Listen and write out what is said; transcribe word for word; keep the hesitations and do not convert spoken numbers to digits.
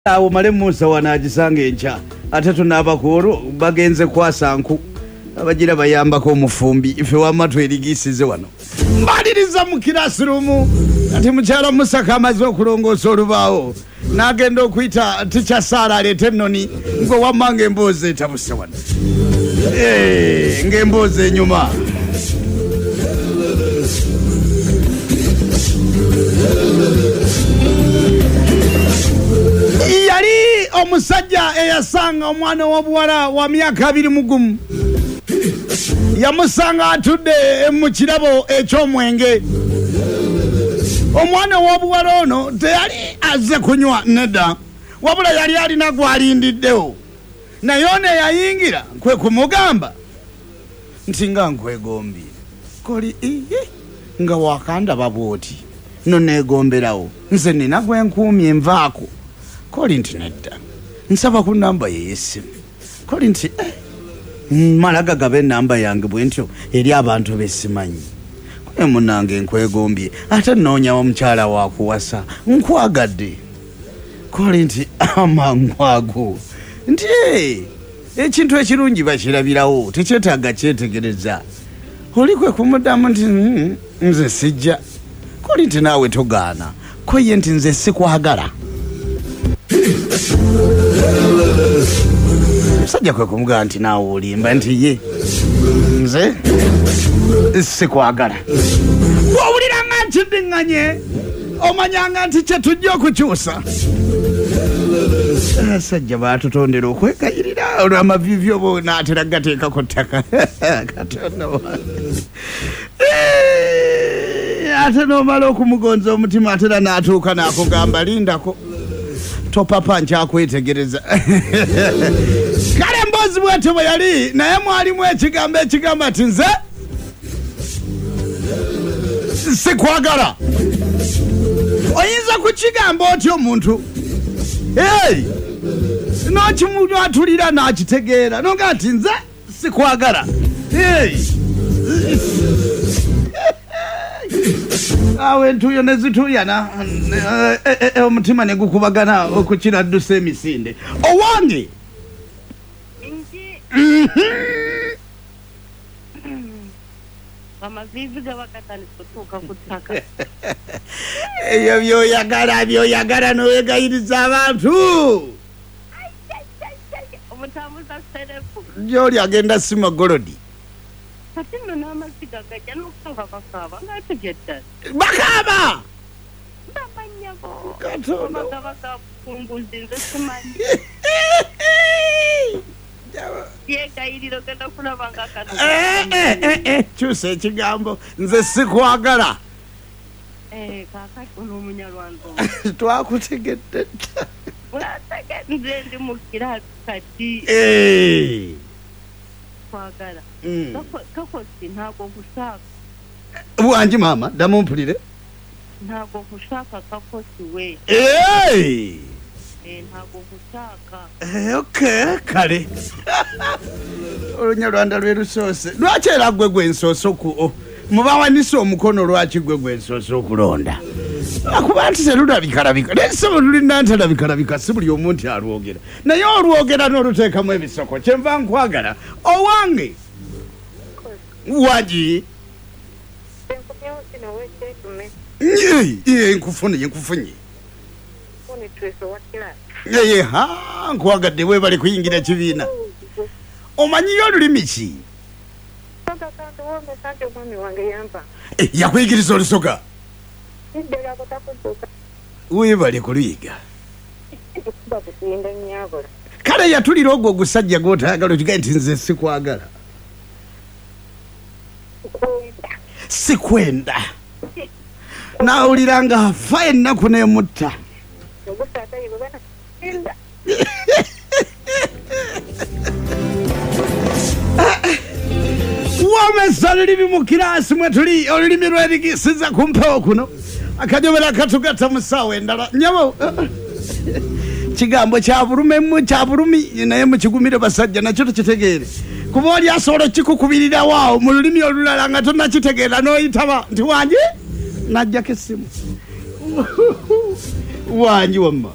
Awo male Musa wanagisanga enkya ate tunaaba ku olwo bagenze kwasa nku abagira bayambako omufumbi ife wamma twerigisize wano mbaliriza mu kirasirumu ati mukyala Musa kamaze okulongoosa olubaawo n'agenda okuyita Teacher Sarah aleete ennoni ngwe wamma ng'emboozi etabuse wano eh, ng'emboozi enyuma. Yali omusajja eyasanga omwana w'obuwala wa myaka abiri mu gumu yamusanga atudde mu kirabo eky'omwenge. Omwana w'obuwala ono teyali azze kunywa nedda, wabula yali alina gw'alindiddewo, naye ono eyayingira kwe kumugamba nti nga nkwegombye koli iye nga wakandaba bw'oti no neegomberawo nze nina gwe nkuumye nvaako. Koli nti nedda nsaba ku namba ye y'essimu. Koli nti eh, mmala gagaba ennamba yange bwe ntyo eri abantu besimanyi. Kwe munnange nkwegombye ate nnoonya omukyala wakuwasa nkwagadde. Koli nti amangu ago nti eh, ekintu ekirungi bakirabirawo tekyetaaga kyetegereza. Oli kwe kumuddamu nti mm, nze sijja. Koli nti naawe togaana. Ko ye nti nze sikwagala. Musajja kwe kumugamba nti naawe olimba nti ye nze sikwagala. Bw'owulira nga nkiddiŋŋanye omanyanga nti kye tujja okukyusa. Abasajja baatutondera okwegayirira olw'amaviivi oba n'atera gateekako ttaka. Katonda wange. Ate n'omala okumugonza omutima ate era n'atuuka n'akugamba lindako topapa nkyakwetegereza. Kale emboozi bw'etyo bwe yali, naye mwalimu ekigambo ekigamba nti nze sikwagala. Oyinza kukigamba otya omuntu? Hey! N'okimwatulira n'akitegeera n'ogamba nti nze sikwagala. Hey! Awo entuuyo ne zituuyana omutima ne gukubagana okukira ddusa emisinde. Owange! Amaviivi gaba gatandise okutuuka ku ttaka. Ebyo by'oyagala by'oyagala n'oyegayiriza abantu. Omutambuza serefu. Gy'oli agenda sima golodi. Kati nno n'amaziga gajja n'okusooka bakaaba ng'ate ddala. Bakaaba! Bamanyabo. Katonda. Gaba gabukunguzi nze simanyi. Yegayirira ogenda kulaba nga kano. Eh, eh, eh, eh, kyusa ekigambo nze sikwagala. Eh, kaakati ono omunyarwanda. Twakutegedde dda. Mwategedde nze ndi mu kiraasi kati. Eh. Kwagala. Mm. Kakosi ntabwo nkushaka. Wangi maama ddamu mpulire. Ntabwo nkushaka kakosi we. Eh! Eh, ntabwo nkushaka. Eh, okay, kale. Olunyarwanda lwe lusoose. Lwaki era gwe gwe nsoose oku mubawanise omukono lwaki gwe gwe nsoose okulonda? Akuba nti terulabikalabika. Naye ssebo lulina nti si buli omu nti alwogera. Naye olwogera n'oluteekamu ebisoko. Kyenva nkwagala. Owange! Wagi? Ye, nkufunye, nkufunye. Ye, ha, nkwagadde weebale kuyingira kibiina. Omanyiyo olulimi ki? Eh, yakuyigiriza Olusoga? Weebale kuluyiga. Kale yatulira ogwo ogusajja gw'otayagala okigambe nti nze sikwagala. Sikwenda. Naawulira nga afa ennaku n'emutta. Wamesa olulimi mu kiraasi mwe tuli olulimi lwerigisiza ku mpewo kuno akanyomera katugatta mu ssaawa endala. Nnyabo kigambo kya bulumemu kya bulumi naye mukigumire basajja nakyo tukitegeere. Kuba oli asobola okukikukubirirawo awo mu lulimi olulala nga tonnakitegeera n'oyitaba nti wangi najjako essimu. Wangi wamma.